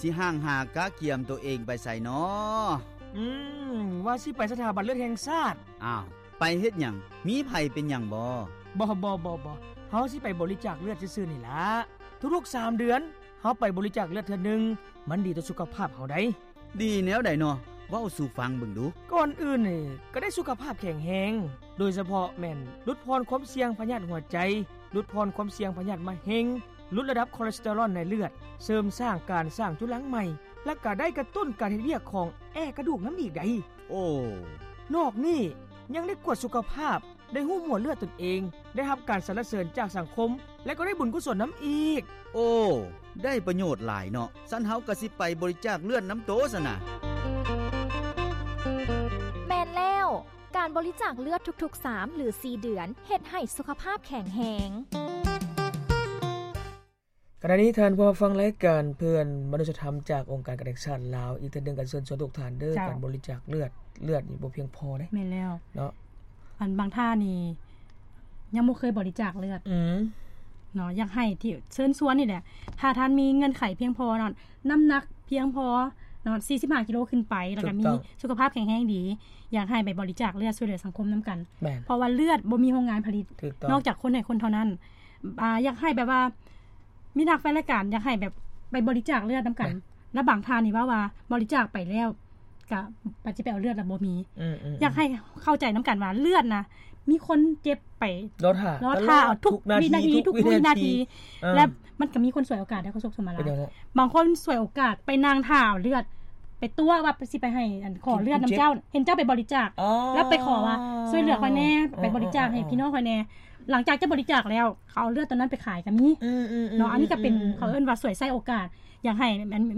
ຊິຫ່າງຫາກະກຽມໂຕເອງໄປໃສນໍ? ອືມ ວ່າຊິໄປສະຖາບັນເລືອດແຫ່ງຊາດ. ອ້າວ ໄປເຮັດຫຍັງ? ມີໃຜເປັນຫຍັງບໍ? ບໍ່ ບໍ່ ບໍ່ ບໍ່ ເຮົາຊິໄປບໍລິຈາກເລືອດຊື່ໆນີ້ລະ. ທຸກໆສາມເດືອນ ເຮົາໄປບໍລິຈາກເລືອດເທື່ອໜຶ່ງ ມັນດີຕໍ່ສຸຂະພາບເຮົາໃດ໋. ດີແນວໃດນໍ? ເວົ້າສູ່ຟັງເບິ່ງດູ. ກ່ອນອື່ນນີ້ ກະໄດ້ສຸຂະພາບແຂງແຮງ, ໂດຍສະເພາະແມ່ນຫຼຸດຜ່ອນຄວາມສ່ຽງພະຍາດຫົວໃຈ, ຫຼຸດຜ່ອນຄວາມສ່ຽງພະຍາດມະເຮັງ, ຫຼຸດລະດັບຄອເລສເຕີຣອນໃນເລືອດ, ເສີມສ້າງການສ້າງຈຸລັງໃໝ່ ແລະ ກະໄດ້ກະຕຸ້ນການເຮັດວຽກຂອງແອກະດູກນຳອີກໃດ໋. ໂອ້ ນອກນີ້ຍັງໄດ້ກວດສຸຂະພາບ, ໄດ້ຮູ້ໝວດເລືອດຕົນເອງ, ໄດ້ຮັບການສັນລະເສີນຈາກສັງຄົມ ແລະ ກໍໄດ້ບຸນກຸສົນນຳອີກ. ໂອ້ ໄດ້ປະໂຫຍດຫຼາຍເນາະ. ຊັ້ນເຮົາກະຊິໄປບໍລິຈາກເລືອດນຳໂຕຊັ້ນນະ. ແມ່ນແລ້ວ, ການບໍລິຈາກເລືອດທຸກໆສາມ ຫຼື ສີ່ເດືອນ ເຮັດໃຫ້ສຸຂະພາບແຂງແຮງ. ຂະນະນີ້ທ່ານຜູ້ຟັງລາຍການເພື່ອນມະນຸດສະທຳຈາກອົງການການແຫ່ງຊາດລາວ ອີກເທື່ອໜຶ່ງກະເຊີນຊວນທຸກທ່ານເດີ ເຈົ້າ ການບໍລິຈາກເລືອດ, ເລືອດນີ້ບໍ່ພຽງພໍເດ້. ແມ່ນແລ້ວເນາະ. ອັນບາງທ່ານນີ້ຍັງບໍ່ເຄີຍບໍລິຈາກເລືອດ ອືມ ເນາະ, ຢາກໃຫ້ທີ່ເຊີນຊວນນີ້ແຫຼະ ຖ້າທ່ານມີເງື່ອນໄຂພຽງພໍເນາະ, ນ້ຳໜັກພຽງພໍເນາະ ສີ່ສິບຫ້າກິໂລຂຶ້ນໄປ ແລ້ວກະມີສຸຂະພາບແຂງແຮງດີ ຢາກໃຫ້ໄປບໍລິຈາກເລືອດຊ່ວຍເຫຼືອສັງຄົມນຳກັນ. ແມ່ນ ເພາະວ່າເລືອດບໍ່ມີໂຮງງານຜະລິດ ນອກຈາກຄົນໃຫ້ຄົນເທົ່ານັ້ນ. ອາ ຢາກໃຫ້ແບບວ່າ ມີນັກແຟນລາຍການຢາກໃຫ້ແບບໄປບໍລິຈາກເລືອດນຳກັນ ແມ່ນ ແລ້ວບາງທ່ານນີ້ເວົ້າວ່າບໍລິຈາກໄປແລ້ວ ກະ ປະ ຊິໄປເອົາເລືອດລະບໍ່ມີ. ອືມໆໆ ຢາກໃຫ້ເຂົ້າໃຈນຳກັນວ່າເລືອດນະ ມີຄົນເຈັບໄປລໍຖ້າ ລໍຖ້າທຸກວິນາທີ ທຸກວິນາທີ ເອີ ແລະ ມັນກະມີຄົນສວຍໂອກາດໄດ້ ຂໍໂຊກສະມາລາ ບາງຄົນສວຍໂອກາດໄປນັ່ງຖ້າເອົາເລືອດ ໄປຕົວະວ່າຊິໄປໃຫ້ ອັນ ຂໍເລືອດນຳເຈົ້າ ເຫັນເຈົ້າໄປບໍລິຈາກ ແລ້ວໄປຂໍວ່າຊ່ວຍເຫຼືອຂ້ອຍແດ່ ໄປບໍລິຈາກໃຫ້ພີ່ນ້ອງຂ້ອຍແດ່. ຫຼັງຈາກຈະບໍລິຈາກແລ້ວ ເຂົາເອົາເລືອດຕົວນັ້ນໄປຂາຍກະມີເນາະ. ອັນນີ້ກະເປັນ ເຂົາເອີ້ນວ່າສວຍໃຊ້ໂອກາດ. ຢາກໃຫ້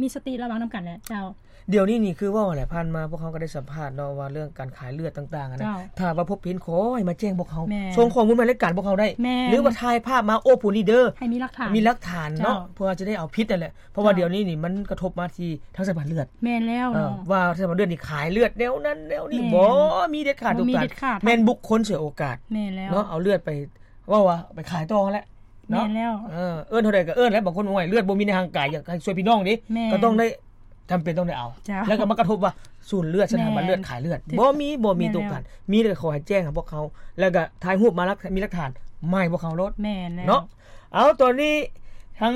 ມີສະຕິລະວັງນຳກັນແຫຼະເຈົ້າ. ດຽວນີ້ນີ້ຄືເວົ້າຫັ້ນແຫຼະ ຜ່ານມາພວກເຮົາກະໄດ້ສຳພາດເນາະ ວ່າເລື່ອງການຂາຍເລືອດຕ່າງໆຫັ້ນນະ. ຖ້າວ່າພົບເຫັນຂໍໃຫ້ມາແຈ້ງພວກເຮົາ ສົ່ງຂໍ້ມູນມາລາຍການພວກເຮົາໄດ້ ແມ່ນ ຫຼືວ່າຖ່າຍພາບມາໂອໂພນີ້ເດີ ໃຫ້ມີຫຼັກຖານ ມີຫຼັກຖານເນາະ ເພື່ອຈະໄດ້ເອົາຜິດຫັ້ນແຫຼະ. ເພາະວ່າດຽວນີ້ນີ້ມັນກະທົບມາທີ່ທາງສະຖາບັນເລືອດ ແມ່ນແລ້ວເນາະ ວ່າສະຖາບັນເລືອດນີ້ຂາຍເລືອດແນວນັ້ນແນວນີ້ບໍ ມີເດັດຂາດ ແມ່ນບຸກຄົນສວຍໂອກາດ ແມ່ນແລ້ວເນາະ ເອົາເລືອດໄປ ເວົ້າວ່າໄປຂາຍຕໍ່ຫັ້ນແຫຼະເນາະ. ແມ່ນແລ້ວ ເອີ ເອີ້ນເທົ່າໃດກະເອີ້ນແຫຼະ ບາງຄົນ ໂອ້ຍ ເລືອດບໍ່ມີໃນຮ່າງກາຍ ຢາກໃຫ້ຊ່ວຍພີ່ນ້ອງເດ້ ກະຕ້ອງໄດ້ ຈຳເປັນຕ້ອງໄດ້ເອົາ ແລ້ວກະມາກະທົບວ່າສູນເລືອດ ສະຖາບັນເລືອດຂາຍເລືອດ ບໍ່ມີ ບໍ່ມີໂຕການ ມີແຕ່ຂໍໃຫ້ແຈ້ງໃຫ້ພວກເຮົາ ແລ້ວກະຖ່າຍຮູບມາ ມີຫຼັກຖານ ມາໃຫ້ພວກເຮົາໂລດເນາະ. ເອົາ ຕອນນີ້ທາງ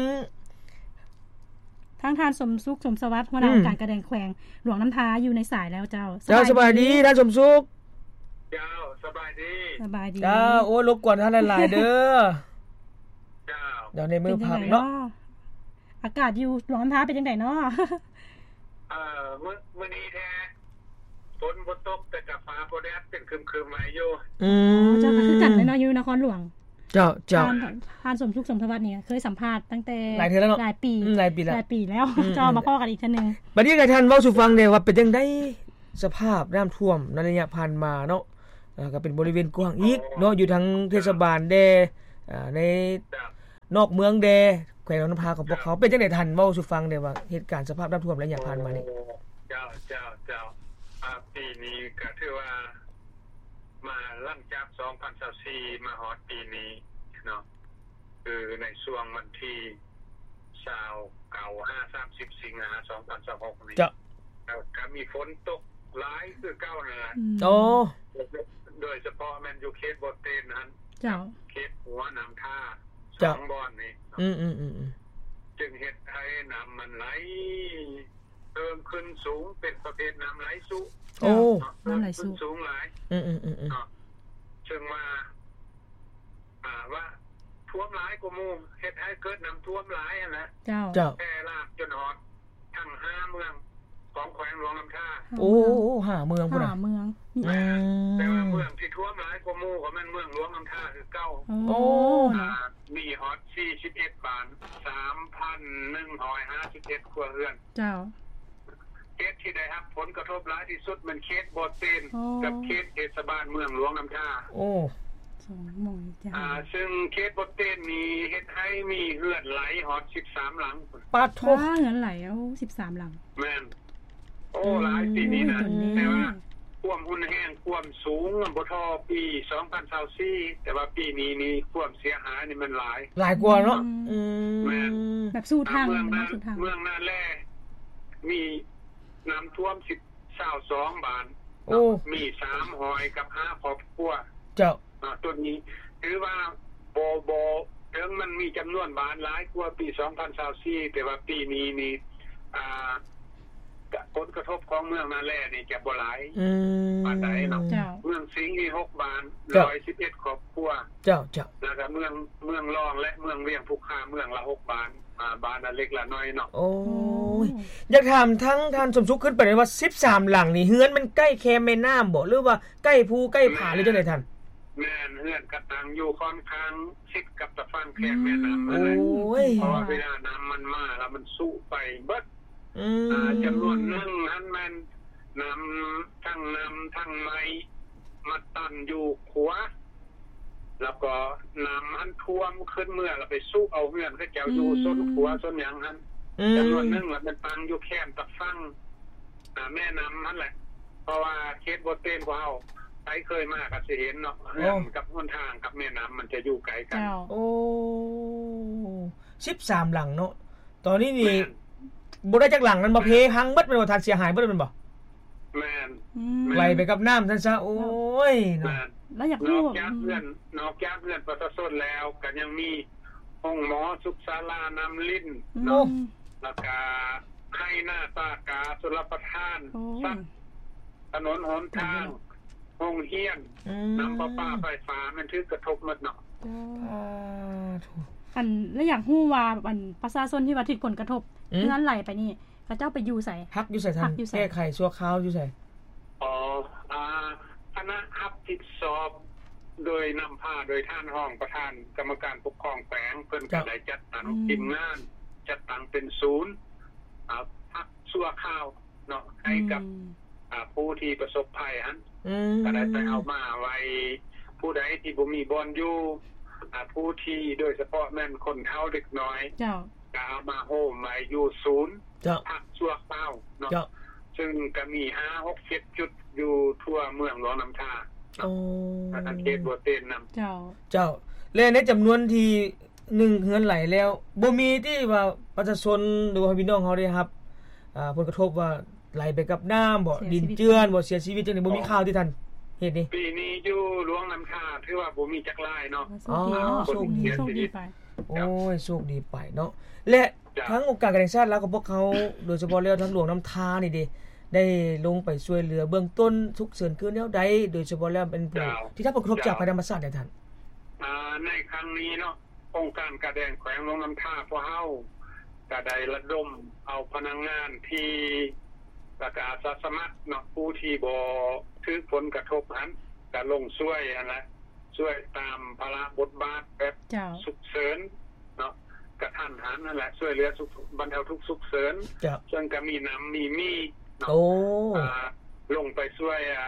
ທາງທ່ານ ສົມສຸກ ສົມສະຫວັດ ຫົວໜ້າອົງການການແຂວງຫຼວງນ້ຳທາຢູ່ໃນສາຍແລ້ວເຈົ້າ. ເຈົ້າ ສະບາຍດີທ່ານສົມສຸກ. ເຈົ້າ ສະບາຍດີ ສະບາຍດີ ເຈົ້າ. ໂອ້ ລົບກວນທ່ານຫຼາຍໆເດີ ເຈົ້າ. ດຽວໃນມື້ພັກເນາະ ອາກາດຢູ່ຫຼວງນ້ຳທາເປັນຈັ່ງໃດເນາະ? ເອີ ມື້ ມື້ນີ້ແທ້ ຝົນບໍ່ຕົກ ແຕ່ກະຟ້າບໍ່ແດດ ເປັນຄຶມໆໄວ້ຢູ່. ອືມ ເຈົ້າ ກະຄືກັນເລີຍເນາະ ຢູ່ນະຄອນຫຼວງ. ເຈົ້າ ເຈົ້າ ທ່ານ ທ່ານສົມສຸກ ສົມສະຫວັດນີ້ເຄີຍສຳພາດຕັ້ງແຕ່ຫຼາຍເທື່ອແລ້ວເນາະ ຫຼາຍປີ ອືມ ຫຼາຍປີແລ້ວ ຫຼາຍປີແລ້ວ ອືມ ເຈົ້າ ມາພໍ້ກັນອີກເທື່ອໜຶ່ງ. ບັດນີ້ໃຫ້ທ່ານເວົ້າສູ່ຟັງແດ່ວ່າເປັນຈັ່ງໃດສະພາບນ້ຳຖ້ວມໃນໄລຍະຜ່ານມາເນາະ ກະເປັນບໍລິເວນກວ້າງອີກເນາະ ຢູ່ທາງເທດສະບານແດ່ ໃນນອກເມືອງແດ່ ແຂວງຫຼວງນ້ຳທາຂອງພວກເຮົາ ເປັນຈັ່ງໃດ ທ່ານເວົ້າສູ່ຟັງແດ່ວ່າເຫດການສະພາບນ້ຳຖ້ວມໄລຍະຜ່ານມານີ້? ເຈົ້າ ເຈົ້າ ເຈົ້າ ອາ ປີນີ້ກະຖືວ່າ ມາຫຼັງຈາກສອງພັນຊາວສີ່ມາຮອດປີນີ້ເນາະ ຄືໃນຊ່ວງວັນທີຊາວເກົ້າຫາສາມສິບສິງຫາສອງພັນຊາວຫົກນີ້ ເຈົ້າ ກະມີຝົນຕົກຫຼາຍຄືເກົ່ານັ້ນແຫຼະ. ໂອ້ ໂດຍສະເພາະແມ່ນຢູ່ເຂດບໍ່ເຕັນຫັ້ນ ເຈົ້າ ເຂດຫົວນ້ຳທາ ສອງບ່ອນນີ້ ອືມໆໆ ຈຶ່ງເຮັດໃຫ້ນ້ຳມັນໄຫຼ ເພີ່ມຂຶ້ນສູງ ເປັນປະເພດນ້ຳໄຫຼສຸ. ໂອ້ ນ້ຳໄຫຼສຸ ເພີ່ມຂຶ້ນສູງຫຼາຍ ອືມໆໆ ເນາະ ເຊິ່ງວ່າ ອ່າ ວ່າຖ້ວມຫຼາຍກວ່າໝູ່ ເຮັດໃຫ້ເກີດນ້ຳຖ້ວມຫຼາຍຫັ້ນແຫຼະ ເຈົ້າ ເຈົ້າ ແຜ່ລາມຈົນຮອດທັງຫ້າເມືອງຂອງແຂວງຫຼວງນ້ຳທາ. ໂອ້ ຫ້າເມືອງພຸ້ນນະ ຫ້າເມືອງ ອືມ ແຕ່ວ່າເມືອງທີ່ຖ້ວມຫຼາຍກວ່າໝູ່ກະແມ່ນເມືອງຫຼວງນ້ຳທາຄືເກົ່າ. ໂອ້ ໂອ້ ມີຮອດສີ່ສິບເອັດບ້ານ ສາມພັນໜຶ່ງຮ້ອຍຫ້າສິບເອັດຄົວເຮືອນ ເຈົ້າ. ເຂດທີ່ໄດ້ຮັບຜົນກະທົບຫຼາຍທີ່ສຸດແມ່ນເຂດບໍ່ເຕັນ ໂອ້ ກັບເຂດເທດສະບານເມືອງຫຼວງນ້ຳທາ. ໂອ້ ສອງໝ່ອງນີ້ ອ່າ ຊຶ່ງເຂດບໍ່ເຕັນນີ້ເຮັດໃຫ້ມີເຮືອນໄຫຼຮອດສິບສາມຫຼັງ. ປາດໂທ້ ເຮືອນໄຫຼ ໂອ້ ສິບສາມຫຼັງ ແມ່ນ. ໂອ້ ໂອ້ ຫຼາຍປີນີ້ນະ ແຕ່ວ່າຄວາມຮຸນແຮງ ຄວາມສູງບໍ່ທໍ່ປີສອງພັນຊາວສີ່ ແຕ່ວ່າປີນີ້ນີ້ຄວາມເສຍຫາຍນີ້ມັນຫຼາຍ ຫຼາຍກວ່າເນາະ. ອືມ ອືມ ແມ່ນ ແບບສູ່ທາງ ເມືອງນາ ເມືອງນາແລ ມີນ້ຳຖ້ວມສິບ ຊາວສອງບ້ານ ໂອ້ ມີສາມຮ້ອຍກັບຫ້າຄອບຄົວ ເຈົ້າ ອາ ຕົວນີ້ຖືວ່າບໍ່ ບໍ່ ເຖິງມັນມີຈຳນວນບ້ານຫຼາຍກວ່າປີສອງພັນຊາວສີ່ ແຕ່ວ່າປີນີ້ນີ້ ອາ ກະ ຜົນກະທົບຂອງເມືອງນາແລນີ້ຈະບໍ່ຫຼາຍ ອືມ ປານໃດເນາະ ເຈົ້າ ເມືອງສິງມີຫົກບ້ານ ເຈົ້າ ຮ້ອຍສິບເອັດຄອບຄົວ ເຈົ້າ ເຈົ້າ ແລ້ວກະເມືອງ ເມືອງລອງ ແລະ ເມືອງວຽງພູຄາ ເມືອງລະຫົກບ້ານ ອາ ບ້ານລະເລັກລະນ້ອຍເນາະ ໂອ້ຍ ໂອ້ ຢາກຖາມທາງທ່ານສົມສຸກ ຂຶ້ນໄປວ່າສິບສາມຫຼັງນີ້ ເຮືອນມັນໃກ້ແຄມແມ່ນ້ຳບໍ່ ຫຼືວ່າໃກ້ພູໃກ້ຜາ ຫຼືຈັ່ງໃດທ່ານ? ແມ່ນ ເຮືອນກະຕັ້ງຢູ່ຂ້ອນຂ້າງ ຕິດກັບຕາຝັ່ງແຄມແມ່ນ້ຳ ອືມ ນັ້ນແຫຼະ ໂອ້ຍ ເພາະວ່າເວລານ້ຳມັນມາແລ້ວມັນຊຸໄປເບິດ ອືມ ອາ ຈຳນວນໜຶ່ງຫັ້ນແມ່ນນ້ຳ ທັງນ້ຳທັງໄມ້ມາຕັນຢູ່ຂົວ ແລ້ວກໍນ້ຳຫັ້ນຖ້ວມຂຶ້ນເມືອ ແລ້ວໄປຊຸເອົາເຮືອນເຂົາເຈົ້າຢູ່ ອືມ ຊົນຂົວຊົນຫຍັງຫັ້ນ ອືມ ຈຳນວນໜຶ່ງລະແມ່ນຕັ້ງຢູ່ແຄມຕາຝັ່ງ ອາ ແມ່ນ້ຳຫັ້ນແຫຼະ ເພາະວ່າເຂດບໍ່ເຕັນພວກເຮົາ ໃຜເຄີຍມາກໍຊິເຫັນເນາະ ເຮືອນ ໂອ້ ກັບຫົນທາງກັບແມ່ນ້ຳມັນຈະຢູ່ໃກ້ກັນ ເຈົ້າ ໂອ້ ສິບສາມຫຼັງເນາະ ຕອນນີ້ນີ້ ແມ່ນ ບໍ່ໄດ້ຈັກຫຼັງແມ່ນບໍ່? ແມ່ນ ເພພັງເບິດແມ່ນບໍ່ທ່ານ? ເສຍຫາຍເບິດແມ່ນບໍ່? ແມ່ນ ອືມ ແມ່ນ ໄຫຼໄປກັບນ້ຳຊັ້ນຊະ ໂອ້ຍເນາະ ແມ່ນ ແລ້ວຢາກຮູ້ ນອກຈາກເຮືອນ ອືມ ນອກຈາກເຮືອນປະຊາຊົນແລ້ວ ກໍຍັງມີໂຮງໝໍ ສຸກສາລາ ນ້ຳລິນ ອືມ ເນາະ ແລ້ວກະໄຮ່ນາ ປ່າກາ ຊົນລະປະທານ ໂອ້ຍ ສັດ ຖະໜົນຫົນທາງ ໂຮງຮຽນ ອືມ ນ້ຳປະປາ ໄຟຟ້າ ແມ່ນຖືກກະທົບໝົດເນາະ ໂອ້ ສາທຸ ອັນ ແລ້ວຢາກຮູ້ວ່າ ອັນ ປະຊາຊົນທີ່ວ່າຖືກຜົນກະທົບ ອືມ ເຮືອນໄຫຼໄປນີ້ ເຂົາເຈົ້າໄປຢູ່ໃສ? ພັກຢູ່ໃສທ່ານ? ພັກຢູ່ໃສ? ແກ້ໄຂຊົ່ວຄາວຢູ່ໃສ? ອໍ ອາ ຄະນະຮັບຜິດຊອບໂດຍນຳພາໂດຍທ່ານຮອງປະທານກຳມະການປົກຄອງແຂວງ ເພິ່ນກໍໄດ້ຈັດຕັ້ງ ອືມ ທີມງານ ຈັດຕັ້ງເປັນສູນ ອາ ພັກຊົ່ວຄາວເນາະ ໃຫ້ກັບ ອືມ ອາ ຜູ້ທີ່ປະສົບໄພຫັ້ນ ອືມ ກໍໄດ້ໄປເອົາມາໄວ້ ຜູ້ໃດທີ່ບໍ່ມີບ່ອນຢູ່ ອາ ຜູ້ທີ່ ໂດຍສະເພາະແມ່ນຄົນເຖົ້າເດັກນ້ອຍ ເຈົ້າ ກໍເອົາມາໂຮມໄວ້ຢູ່ສູນ ເຈົ້າ ພັກຊົ່ວຄາວເນາະ ເຈົ້າ ເຊິ່ງກໍມີຫ້າ ຫົກ ເຈັດ ຈຸດຢູ່ທົ່ວເມືອງຫຼວງນ້ຳທາເນາະ ໂອ້ ແລະທາງເຂດບໍ່ເຕັນນຳ ເຈົ້າ ເຈົ້າ ແລະໃນຈຳນວນທີ່ໜຶ່ງເຮືອນໄຫຼແລ້ວ ບໍ່ມີທີ່ວ່າປະຊາຊົນ ຫຼືວ່າພີ່ນ້ອງເຮົາໄດ້ຮັບ ອາ ຜົນກະທົບວ່າໄຫຼໄປກັບນ້ຳບໍ ດິນເຈື່ອນບໍ ເສຍຊີວິດຈັ່ງໃດ ບໍ່ມີຂ່າວທີ່ທ່ານເຮັດນີ້? ປີນີ້ຢູ່ຫຼວງນ້ຳທາຖືວ່າບໍ່ມີຈັກລາຍເນາະ ໂຊກດີເນາະ ໂຊກດີ ໂຊກດີໄປ ໂອ້ຍ ໂຊກດີໄປເນາະ ແລະ ເຈົ້າ ທາງອົງການການແຫ່ງຊາດລາວຂອງພວກເຮົາ ໂດຍສະເພາະແລ້ວທາງຫຼວງນ້ຳທານີ້ເດ ໄດ້ລົງໄປຊ່ວຍເຫຼືອເບື້ອງຕົ້ນສຸກເສີນຄືແນວໃດ ໂດຍສະເພາະແລ້ວເປັນຜູ້ ເຈົ້າ ທີ່ຮັບຜົນກະທົບຈາກໄພທຳມະຊາດໃດທ່ານ? ອາ ໃນຄັ້ງນີ້ເນາະ ອົງການກາແດງແຂວງຫຼວງນ້ຳທາພວກເຮົາກໍໄດ້ລະດົມເອົາພະນັກງານທີ່ ແລ້ວກະອາສາສະໝັກເນາະ ຜູ້ທີ່ບໍ່ຖືກຜົນກະທົບຫັ້ນ ກະລົງຊ່ວຍຫັ້ນແຫຼະ ຊ່ວຍຕາມພາລະບົດບາດແບບ ເຈົ້າ ສຸກເສີນເນາະ ກະທັນຫັນຫັ້ນແຫຼະ ຊ່ວຍເຫຼືອສຸກ ບັນເທົາທຸກສຸກເສີນ ເຈົ້າ ເຊິ່ງກະມີນ້ຳມີມີເນາະ ໂອ້ ອາ ລົງໄປຊ່ວຍ ອາ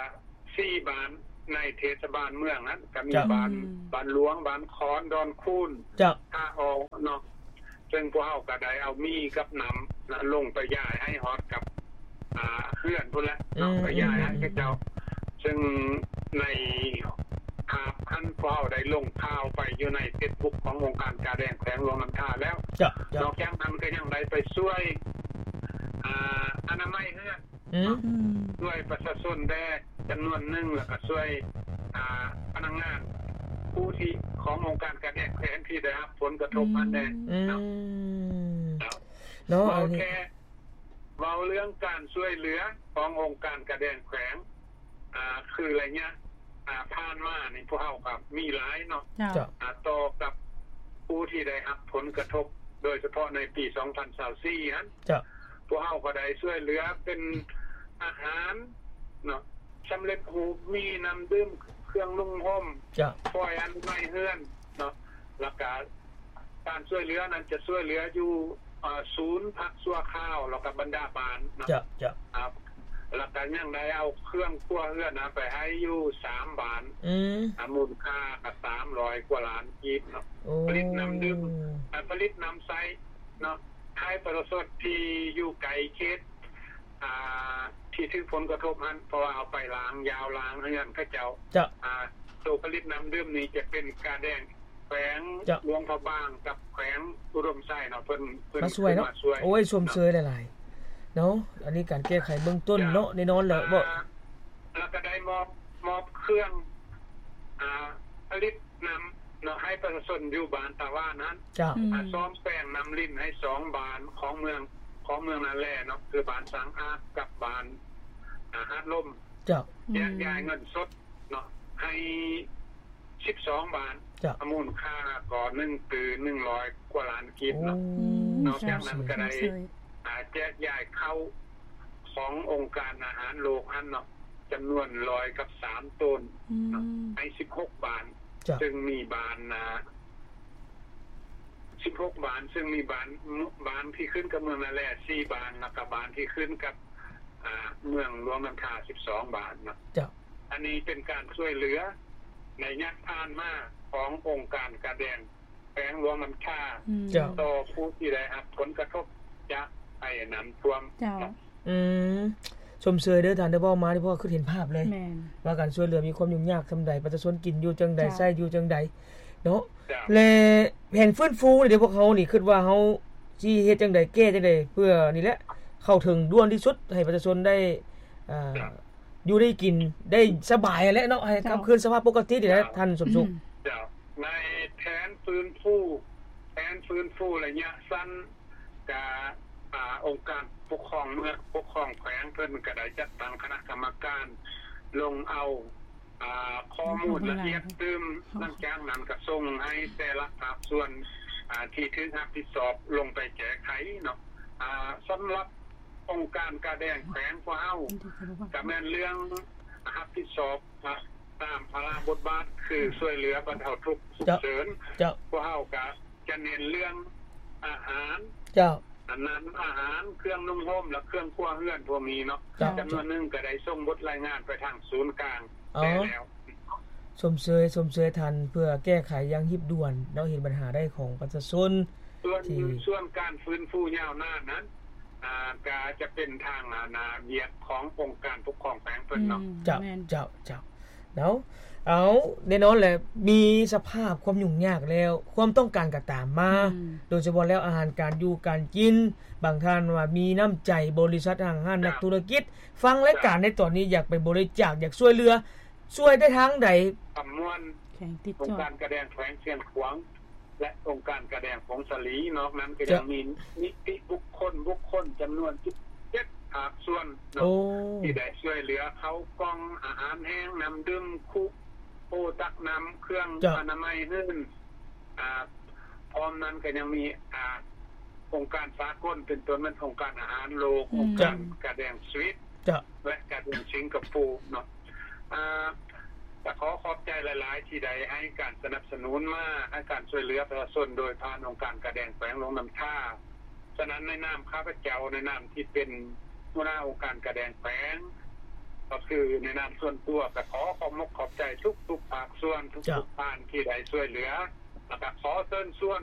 ສີ່ບ້ານໃນເທດສະບານເມືອງຫັ້ນ ກະມີ ເຈົ້າ ບ້ານ ອືມ ບ້ານຫຼວງ ບ້ານຄອນ ດອນຄູນ ເຈົ້າ ທ່າອອກເນາະ ເຊິ່ງພວກເຮົາກະໄດ້ເອົາມີກັບນ້ຳນະ ລົງໄປຢາຍໃຫ້ຮອດກັບ ອາ ເຮືອນພຸ້ນແຫຼະເນາະ ອືມ ໄປຢາຍໃຫ້ເຂົາເຈົ້າ ອືມ ເຊິ່ງໃນພາບຫັ້ນ ພວກເຮົາໄດ້ລົງຂ່າວໄປຢູ່ໃນເຟສບຸກຂອງອົງການກາແດງແຂວງຫຼວງນ້ຳທາແລ້ວ ເຈົ້າ ເຈົ້າ ນອກຈາກນັ້ນກະຍັງໄດ້ໄປຊ່ວຍ ອາ ອະນາໄມເຮືອນ ອືມ ອືມ ຊ່ວຍປະຊາຊົນແດ່ຈຳນວນໜຶ່ງ ແລ້ວກະຊ່ວຍ ອາ ພະນັກງານຜູ້ທີ່ ຂອງອົງການການແຂວງທີ່ໄດ້ຮັບຜົນກະທົບຫັ້ນແດ່ ອືມ ເນາະ ເນາະ ເວົ້າ ອັນນີ້ ແຄ່ ເວົ້າເລື່ອງການຊ່ວຍເຫຼືອຂອງອົງການກາແດງແຂວງ ອາ ຄືໄລຍະ ອາ ຜ່ານມານີ້ ພວກເຮົາກໍມີຫຼາຍເນາະ ເຈົ້າ ເຈົ້າ ອາ ຕໍ່ກັບຜູ້ທີ່ໄດ້ຮັບຜົນກະທົບ ໂດຍສະເພາະໃນປີສອງພັນຊາວສີ່ຫັ້ນ ເຈົ້າ ພວກເຮົາກໍໄດ້ຊ່ວຍເຫຼືອເປັນອາຫານເນາະ ສຳເລັດຮູບໝີ່ ນ້ຳດື່ມ ເຄື່ອງນຸ່ງຫົ່ມ ເຈົ້າ ຟອຍອະນາໄມເຮືອນເນາະ ແລ້ວກະການຊ່ວຍເຫຼືອນັ້ນຈະຊ່ວຍເຫຼືອຢູ່ ເອີ ສູນພັກຊົ່ວຄາວ ແລ້ວກະບັນດາບ້ານເນາະ ເຈົ້າ ເຈົ້າ ອາ ແລ້ວກະຍັງໄດ້ເອົາເຄື່ອງຄົວເຮືອນນະໄປໃຫ້ຢູ່ສາມບ້ານ ອືມ ອາ ມູນຄ່າກະສາມຮ້ອຍກວ່າລ້ານກີບເນາະ ໂອ້ ຜະລິດນ້ຳດື່ມ ອາ ຜະລິດນ້ຳໃຊ້ເນາະ ໃຫ້ປະຊາຊົນທີ່ຢູ່ໄກເຂດ ອາ ທີ່ຖືກຜົນກະທົບຫັ້ນ ເພາະວ່າເອົາໄປລ້າງຢາວລ້າງເຮືອນເຂົາເຈົ້າ ເຈົ້າ ອາ ໂຕຜະລິດນ້ຳດື່ມນີ້ຈະເປັນກາແດງແຂວງ ເຈົ້າ ຫຼວງພະບາງກັບແຂວງອຸດົມໄຊເນາະ ເພິ່ນ ເພິ່ນມາຊ່ວຍເນາະ ມາຊ່ວຍ ໂອ້ຍ ຊົມເຊີຍຫຼາຍ ເນາະ ອັນນີ້ການແກ້ໄຂເບື້ອງຕົ້ນເນາະ ແນ່ນອນແຫຼະ ບໍ່ ແລ້ວກໍໄດ້ມອບ ມອບເຄື່ອງ ອ່າ ຜະລິດນຳເນາະ ໃຫ້ປະຊາຊົນຢູ່ບ້ານຕາຫວານຫັ້ນ ເຈົ້າ ອືມ ອ່າ ສ້ອມແປງນ້ຳລິນໃຫ້ສອງບ້ານຂອງເມືອງ ຂອງເມືອງນາແລເນາະ ຄືບ້ານສາງອາດກັບບ້ານ ອ່າ ຫາດລົມ ເຈົ້າ ແຈກຢາຍເງິນສົດເນາະ ໃຫ້ ສິບສອງບ້ານ ເຈົ້າ ມູນຄ່າກໍໜຶ່ງຕື້ໜຶ່ງຮ້ອຍກວ່າລ້ານກີບເນາະ ໂອ້ ອືມ ນອກຈາກນັ້ນກໍໄດ້ ເຈົ້າ ອາ ແຈກຢາຍເຂົ້າຂອງອົງການອາຫານໂລກຫັ້ນເນາະ ຈຳນວນຮ້ອຍກັບສາມໂຕນ ອືມ ເນາະ ໃຫ້ສິບຫົກບ້ານ ເຈົ້າ ຊຶ່ງມີບ້ານ ອາ ສິບຫົກບ້ານ ຊຶ່ງມີບ້ານ ບ້ານທີ່ຂຶ້ນກັບເມືອງນາແລສີ່ບ້ານ ແລ້ວກໍບ້ານທີ່ຂຶ້ນກັບ ອາ ເມືອງຫຼວງນ້ຳທາສິບສອງບ້ານເນາະ ເຈົ້າ ອັນນີ້ເປັນການຊ່ວຍເຫຼືອໃນໄລຍະຜ່ານມາຂອງອົງການກາແດງແຂວງຫຼວງນ້ຳທາ ອືມ ເຈົ້າ ຕໍ່ຜູ້ທີ່ໄດ້ຮັບຜົນກະທົບຈາກໄພນ້ຳຖ້ວມ ເຈົ້າ ເນາະ ອືມ ຊົມເຊີຍເດີທ່ານເດີ ເວົ້າມານີ້ ເພາະວ່າຄືເຫັນພາບເລີຍ ແມ່ນ ວ່າການຊ່ວຍເຫຼືອມີຄວາມຫຍຸ້ງຍາກສ່ຳໃດ ປະຊາຊົນກິນຢູ່ຈັ່ງໃດ ເຈົ້າ ໃຊ້ຢູ່ຈັ່ງໃດເນາະ ເຈົ້າ ແລະ ແຜນຟື້ນຟູນີ້ເດ ພວກເຮົານີ້ຄິດວ່າເຮົາຊິເຮັດຈັ່ງໃດ ແກ້ຈັ່ງໃດ ເພື່ອນີ້ແຫຼະ ເຂົ້າເຖິງດ່ວນທີ່ສຸດ ໃຫ້ປະຊາຊົນໄດ້ ອ່າ ເຈົ້າ ຢູ່ໄດ້ກິນໄດ້ສະບາຍຫັ້ນແຫຼະເນາະ ໃຫ້ ເຈົ້າ ກັບຄືນສະພາບປົກກະຕິນີ້ແຫຼະ ເຈົ້າ ທ່ານສົມສຸກ ເຈົ້າ ໃນແຜນຟື້ນຟູ ແຜນຟື້ນຟູໄລຍະສັ້ນ ກະ ອາ ອົງການປົກຄອງເມືອງ ປົກຄອງແຂວງ ເພິ່ນກະໄດ້ຈັດຕັ້ງຄະນະກຳມະການລົງເອົາ ອາ ຂໍ້ມູນລະອຽດຕື່ມ ຫຼັງຈາກນັ້ນກະສົ່ງໃຫ້ແຕ່ລະພາກສ່ວນ ອາ ທີ່ຖືກຮັບຜິດຊອບລົງໄປແກ້ໄຂເນາະ ອາ ສຳລັບ ອົງການກາແດງແຂວງພວກເຮົາ ກະແມ່ນເລື່ອງຮັບຜິດຊອບຕາມພາລະບົດບາດ ຄືຊ່ວຍເຫຼືອບັນເທົາທຸກສຸກເສີນ ເຈົ້າ ພວກເຮົາກະຈະເນັ້ນເລື່ອງອາຫານ ເຈົ້າ ອັນນັ້ນອາຫານ ເຄື່ອງນຸ່ງຫົ່ມ ແລະ ເຄື່ອງຄົວເຮືອນພວກນີ້ເນາະ ເຈົ້າ ຈຳນວນໜຶ່ງກະໄດ້ສົ່ງບົດລາຍງານໄປທາງສູນກາງ ເອົາ ແລ້ວ ຊົມເຊີຍ ຊົມເຊີຍທ່ານ ເພື່ອແກ້ໄຂຢ່າງຮີບດ່ວນເນາະ ເຫັນບັນຫາໄດ້ຂອງປະຊາຊົນ ສ່ວນ ທີ່ ສ່ວນການຟື້ນຟູຍາວນານນັ້ນ ອ່າ ກະຈະເປັນທາງ ອາ ນາ ວຽກຂອງອົງການປົກຄອງແຂວງເພິ່ນເນາະ ອືມ ເຈົ້າ ແມ່ນ ເຈົ້າ ເຈົ້າ ເນາະ ເອົາ ແນ່ນອນແຫຼະ ມີສະພາບຄວາມຫຍຸ້ງຍາກແລ້ວ ຄວາມຕ້ອງການກະຕາມມາ ອືມ ໂດຍສະເພາະແລ້ວອາຫານການຢູ່ການກິນ ບາງທ່ານວ່າມີນ້ຳໃຈ ບໍລິສັດ ຫ້າງຮ້ານ ເຈົ້າ ນັກທຸລະກິດ ຟັງລາຍການໃນຕອນນີ້ ຢາກໄປບໍລິຈາກ ຢາກຊ່ວຍເຫຼືອ ຊ່ວຍໄດ້ທາງໃດ? ຄຳມ່ວນ ແຂວງຕິດຈອດ ອົງການກາແດງແຂວງຊຽງຂວາງ ແລະ ອົງການກາແດງຜົງສາລີ ນອກນັ້ນກໍຍັງມີນິຕິບຸກຄົນ ບຸກຄົນຈຳນວນສິບເຈັດພາກສ່ວນເນາະ ໂອ້ ທີ່ໄດ້ຊ່ວຍເຫຼືອເຂົ້າກ່ອງ ອາຫານແຫ້ງ ນ້ຳດື່ມ ຄຸໂອຕັກນ້ຳ ເຄື່ອງ ເຈົ້າ ອະນາໄມ ອື່ນ ອ່າ ພ້ອມນັ້ນກໍຍັງມີ ອ່າ ອົງການສາກົນ ເປັນຕົ້ນແມ່ນອົງການອາຫານໂລກ ອືມ ອົງການກາແດງສະວິດ ເຈົ້າ ແລະ ກາແດງສິງກະໂປເນາະ ອ່າ ກະຂໍຂອບໃຈຫຼາຍໆ ທີ່ໄດ້ໃຫ້ການສະໜັບສະໜູນມາ ໃຫ້ການຊ່ວຍເຫຼືອປະຊາຊົນໂດຍຜ່ານອົງການກາແດງແຂວງຫຼວງນ້ຳທາ. ສະນັ້ນ ໃນນາມຂ້າພະເຈົ້າ ໃນນາມທີ່ເປັນຫົວໜ້າອົງການກາແດງແຂວງ ກໍຄືໃນນາມສ່ວນຕົວ ກໍຂໍຂອບມົກຂອບໃຈທຸກໆພາກສ່ວນ ເຈົ້າ ທຸກໆທ່ານທີ່ໄດ້ຊ່ວຍເຫຼືອ ແລ້ວກໍຂໍເຊີນຊວນ